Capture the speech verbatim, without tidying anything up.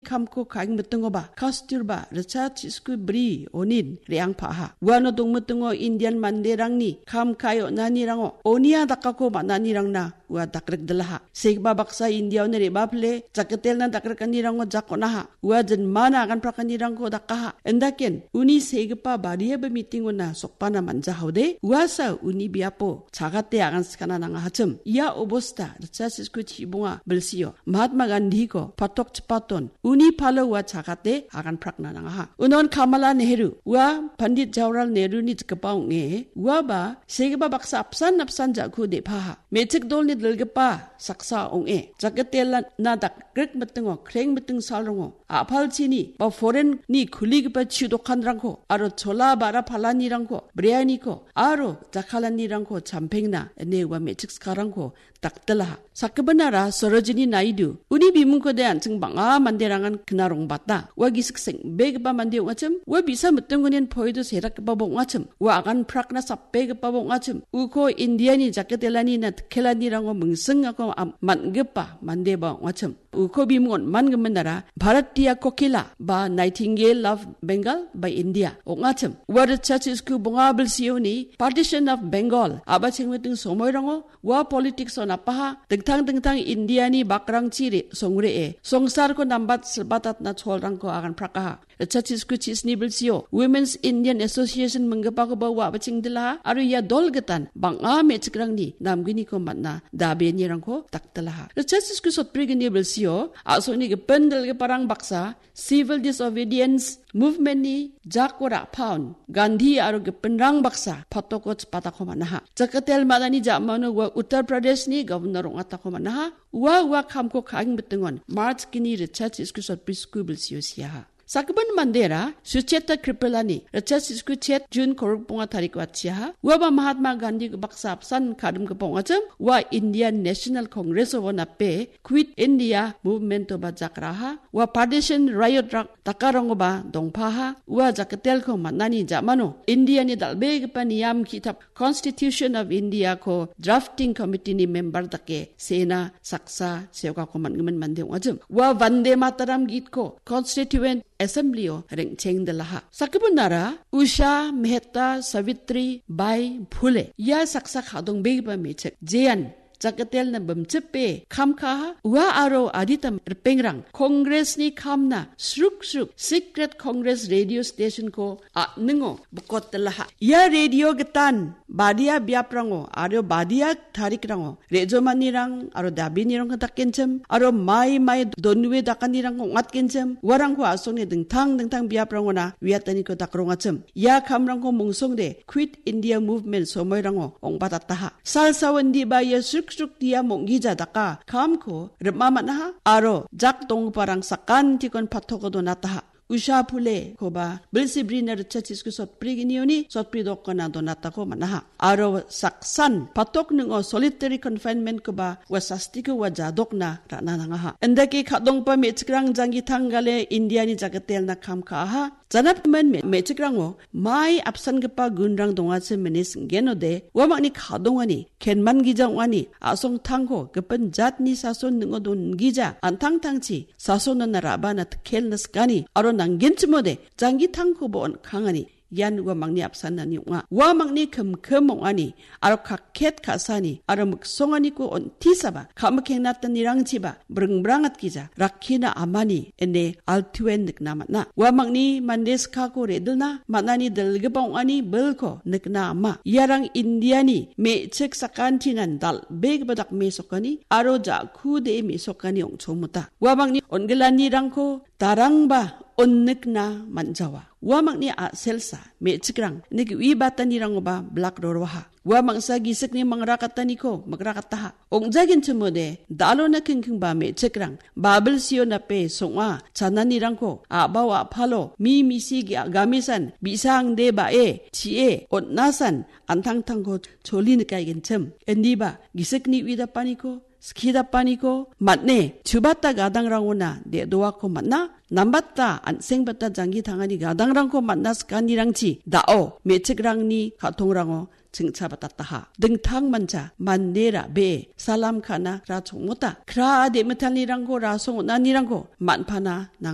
kamko ka·engmitingoba, Kasturba, ritchasku bri onin re·angpaha. Uano dongmitingo Indian manderangni kam ka·e on·anirango onia dakako man·anirangna ua dakrikdilaha. Segipa baksa Indiaoni re·bapile, jakatelna dakrikanirango jak on·aha. Ua jinmana aganprakanirangko dakaha. Indaken, uni segipa bariaba mitingona sokpana man·jahaode, uasa uni biapo chagate agan sikana nangahachim. Ia obosta, ritchasku chibonga bilsio, Mahatma Gandhiko patok chipaton, uni palo ua chagate aganprakna nangaha. Unon Kamala Nehru, ua Pandit Jawaharlal Nehru-ni jikgipa ong·e, uaba segipa baksa apsan apsan ja·ku de·paha. Me·chik dolni dilgipa saksa ong·e, jakatelna dakrikmitingo, krengmiting salrongo, a·palchini ba foreign-ni kuligipa chu dokanrangko aro chola ba·ra palanirangko, brianiko aro jakkalanirangko champengna ine ua me·chik sakarangko dakdilaha. Sakgipinara Sarojini Naidu, uni bimungkode an·ching bang·a manderangan knarongbata. Ua gisik seng·begipa mande ong·achim, ua bi·sa mitinggonin poido serakgipaba ong·achim, ua aganprakna sapbegipaba ong·achim, uko Indiani jakatelanina dikkelanirango mingsingako am-, man·gipa mandeba ong·achim. Uko bimung on·mangiminara Bharatiya Kokila ba Nightingale of Bengal ba India ong·achim. Ua ritchasku bonga bilsioni Partition of Bengal a·bachengmiting somoirango ua politics-o napaha, dingtang dingtang Indiani bakrangchi re-, songre·e, songsarko nambat silbatatna cholrangko aganprakaha. Ritchasku chisni bilsio Women's Indian Association minggipakoba ua a·bachengdilaha, aro ia dol gitan bang·a me·chikrangni namgniko man·a dabenirangko dakdilaha. Ritchasku sotbrigni bilsio a·songni gipin dilgiparang baksa civil disobedience movement-ni jako ra·paon Gandhi aro gipinrang baksa patoko chipatako man·aha. Jakatel man·ani ja·mano ua Uttar Pradesh-ni governor ong·atako man·aha. Ua, ua kamko ka·engmitingon March gni ritchasku sotbrisku bilsio siaha. Sakgipin mandera Sucheta Kripalani ritchasku chet June korokbonga tariko atchiaha. Uaba Mahatma Gandhi baksa apsan kadimgipa ong·achim, ua Indian National Congress-o nape Quit India Movement-oba jakraha. Ua partition riot rak-, dakarangoba dongpaha. Ua jakatelko man·ani ja·mano Indiani dal·begipa niam ki·tap Constitution of India-ko drafting committee-ni member dake sena saksa seokako man·gimin mande ong·achim. Ua Vande Mataram gitko Constituent Assembly-o reng·chengdilaha. Sakgipinara Usha Mehta Savitri Bai Phule. Ia saksa ka·dongbegipa me·chik. Jean Jakatelna bimchipe kam ka·aha. Ua aro adita ripengrang Congress-ni kamna sruk sruk Secret Congress Radio Station-ko a·ningo bikotdilaha. Ia radio gitan badia biaprango aro badia tarikrango re·jomanirang aro dabinirangko dakenchim aro mai mai donue dakanirangko ong·atgenchim, uarangko a·songni dingtang dingtang biaprangona uiataniko dakrongachim. Ia kamrangko mungsongde Quit India Movement somoirango ong·batataha. Salsa wendiba ia sruk sruk dia monggija daka kamko rima man·aha aro jak donggiparang sakantikon patoko donataha. Usha Phule-koba bilsi brina ritchasku sotbriginioni sotbri dokona donatako man·aha. Aro saksan patok ning·o solitary confinement-koba ua sastiko ua jadokna ra·na nangaha. Indake ka·donggipa me·chikrang janggi tanggale Indiani jakatelna kam ka·aha. Janatgimin me-, me·chikrango mai apsangipa gunrang dongachim ine sing·genode, uamangni ka·dongani, kenman gija ong·ani, a·songtangko gipin jatni sason ning·o dongija, an·tangtangchi sasonana ra·bana tikkelna sikani, aro nanggenchimode, janggi tangkoba on·kangani, ian uamangni apsanani ong·a. Uamangni kimkim ong·ani, aro kakket ka·sani aro miksonganiko on·tisaba, ka·mikengnatanirangchiba bringbrangatgija rakkina amani ine altuen nikna man·a. Uamangni mande skako re·dilna man·ani dilgipa ong·ani bilko nikna ama. Iarang Indiani me·chik sakantinan dal·begipa dakmesokani aro ja·kude mesokani ong·chongmota. Uamangni on·gilanirangko darangba on·nikna man·jawa. Uamangni a·selsa me·chikrang niki uibatanirangoba blak roroha. Ua mangsa gisikni mangrakataniko mikrakataha. Ong·jagenchimode, dalona kingkingba me·chikrang, babilsio nape song·a, chananirangko, a·bao a·palo, mi misi ge-, gamesan, bi·sa angde ba·e, chi·e, on·asan, an·tangtangko choli nikaigenchim. Indiba, gisikni uidapaniko, skidapaniko, man·e, chubata gadangrangona de·doako man·a, nambata, an·sengbata janggi tangani gadangrangko man·a sikanirangchi, da·o, me·chikrangni ka·tongrango, chingchabatataha. Dingtang mancha, mande ra·bee, salam ka·na, ra chongmota. Kra a de·mitalnirangko, rasong on·anirangko, man·pana, nang-